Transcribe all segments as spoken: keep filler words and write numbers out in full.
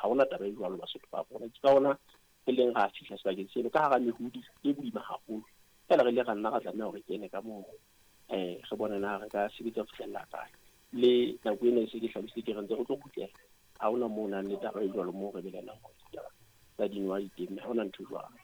Ha hona taba e jwalo Basotho ba rona. Ke ka hona re leng ra fihla sebakeng seno ka hara mehodi e boima haholo. Feela re ile ra nna ra tlameha hore re kene ka moo, eh re bone na re ka sebetsa ho fihlella kae. Le nako ena e se ke hlalositse ke re ntse re tlo kgutlela. Ha hona moo ho nang le taba e jwalo moo re belaelang hore ditaba tsa dinoha di teng, ha hona ntho e jwalo.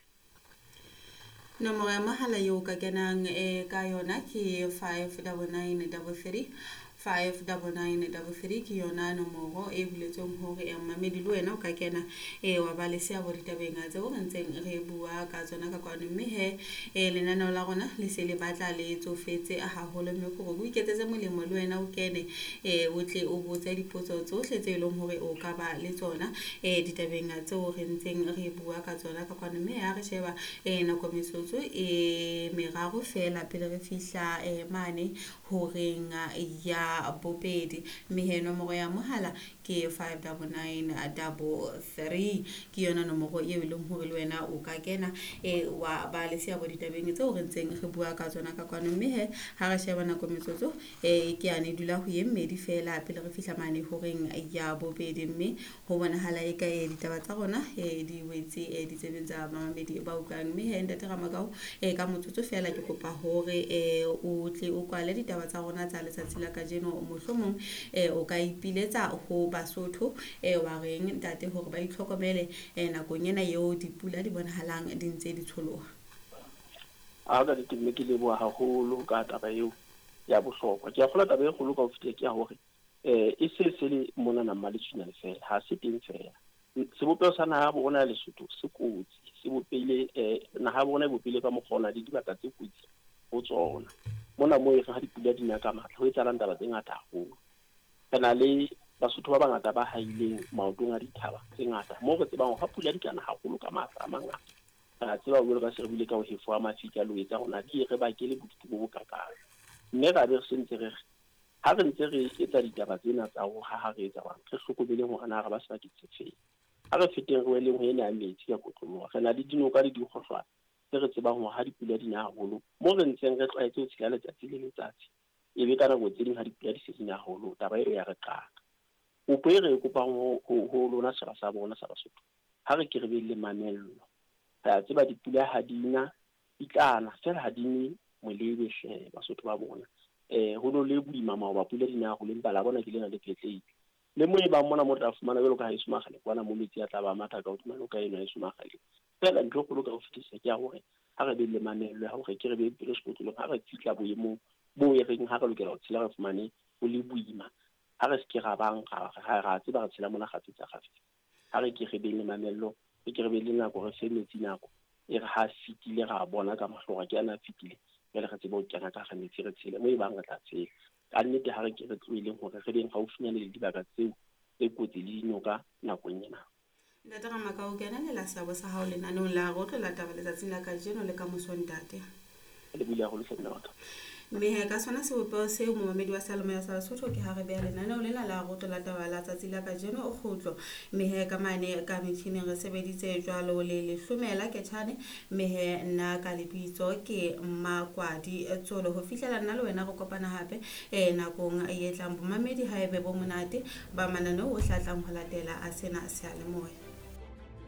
Nomoro ya mohala eo ka kenang eh, ka yona ke five double nine double three, five double nine double three ke yona nomoro e buletsweng hore eh, mmamedi le wena o ka kena eh, wa ba le seabo ditabeng tseo re ntseng re bua ka tsona ka kwano. Mme he, eh, lenaneo la rona le se le batla le tsofetse haholo, mme ke hore o iketsetse molemo le wena o kene eh, o tle o botse dipotso tsohle tse leng hore o ka ba le tsona eh, ditabeng tseo re ntseng re bua ka tsona ka kwano. Mme ha re sheba eh, nako metsotso e meraro fela pele re fihla eh, mane horeng ya bobedi. Mme he nomoro ya mohala ke five double nine double three, ke yona nomoro eo e leng hore le wena o ka kena eh, wa ba le seabo ditabeng tseo re ntseng re bua ka tsona ka kwano. Mme he ha re sheba nako metsotso eh, ke yane dula ho ye mmedi fela pele re fihla mane horeng ya bobedi. Mme ho bonahala eka eh, ditaba tsa rona eh, di wetse eh, ditsebeng tsa bamamedi ba utlwang. Mme he ntate Ramakau eh, ka motsotso fela ke kopa hore eh, o tle o kwale ditaba tsa rona tsa letsatsi la kajeno. Mohlomong eh, o ka ipiletsa ho Basotho eh, wa reng ntate hore ba itlhokomele eh, nakong ena eo dipula di bonahalang di ntse di tsholoha. A ka nnete mme ke leboha haholo ka taba eo ya bohlokwa. Ke a kgolwa taba e kgolo ka ho fetisa ke ya hore eh, e se se le monana Mmaletswinyane fela, ha se teng fela. Sebopeho sa naha ya bo rona ya Lesotho se kotsi, se bopehile eh, naha ya bo rona e bopehile ka mokgwa o na le dibaka tse kotsi ho tsona. Mona moo e re ha dipula di na ka matla ho etsahalang taba tse ngata haholo. Re na le Basotho ba bangata ba haileng maotong a dithaba tse ngata moo re tsebang hore ha pula di kana haholo ka matla a mangata, re a tseba jwalo ka se re buile ka ho hefoha mafika le ho etsa hore di re bakele bodutu bo bokakang. Mme ra be re sentse re re ha re ntse re etsa ditaba tsena tsa ho haha re etsa jwang, re hlokomeleng hore na re ba sebakeng se feng. Ha re feteng re weleng ho ena ya metsi ka kotloloha, re na le dinoka le dikgohlwana tse re tsebang hore ha dipula di na haholo moo re ntseng re tlwaetse ho tshela letsatsi le letsatsi, e be ka nako tse ding ha dipula di se di na haholo taba eo ya re qaka. Kopo e re e kopang ho, ho, ho lona setjhaba sa bona sa Basotho, ha re ke re be le mamello. Re a tseba dipula ha di na, di tla na fela ha di ne molebe hle Basotho ba bona. Eh, ho no le boima maoba pula di na haholo, empa la bona ke lena le phetlehile. Le mo e bang mona mo tla fumana jwalo ka haeso Makgale kwana mo metsi a tla ba matha ka hodima noka eno haeso Makgale. Fela ntho e kgolo ka ho fetisisa ke ya hore ha re be le mamello ya hore ke re be pelo sekotlolong, ha re fihla boemong bo e reng ha re lokela ho tshela re fumane ho le boima, ha re se ke ra bang ra, ra, ra tseba re tshela mona kgafetsa kgafetsa. Ha re ke re be le mamello, re ke re be le nako, re fe metsi nako e re ha fetile ra bona ka mahlo hore ke ana a fetile, jwale re tsebe ho kena ka hara metsi re tshele mo e bang re tla tshela. Ka nnete ha re ke re tlohileng hore re beng haufinyane le dibaka tseo tse kotsi le dinoka nakong ena. Ntate Ramakau, ke ananela seabo sa hao lenaneong la Re Tlo La Taba letsatsing la kajeno le ka moso ntate. Le buile haholo hle mme wa ka. Mme he ka sona sebopeho seo momamedi wa Seyalemoya sa Basotho ke ha re beha lenaneo lena la Re Tlo La Taba la tsatsi la kajeno o kgutlo. Mme he ka mane ka metjhining re sebeditse jwalo le Lehlomela Ketjhane. Mme he nna ka lebitso ke Mmakwadi Tsolo. Ho fihlela nna le wena re kopana hape eh, nakong e tlang. Bomamedi ha ebe bo monate ba mananeo o hlatlang ho latela a sena seyalemoya.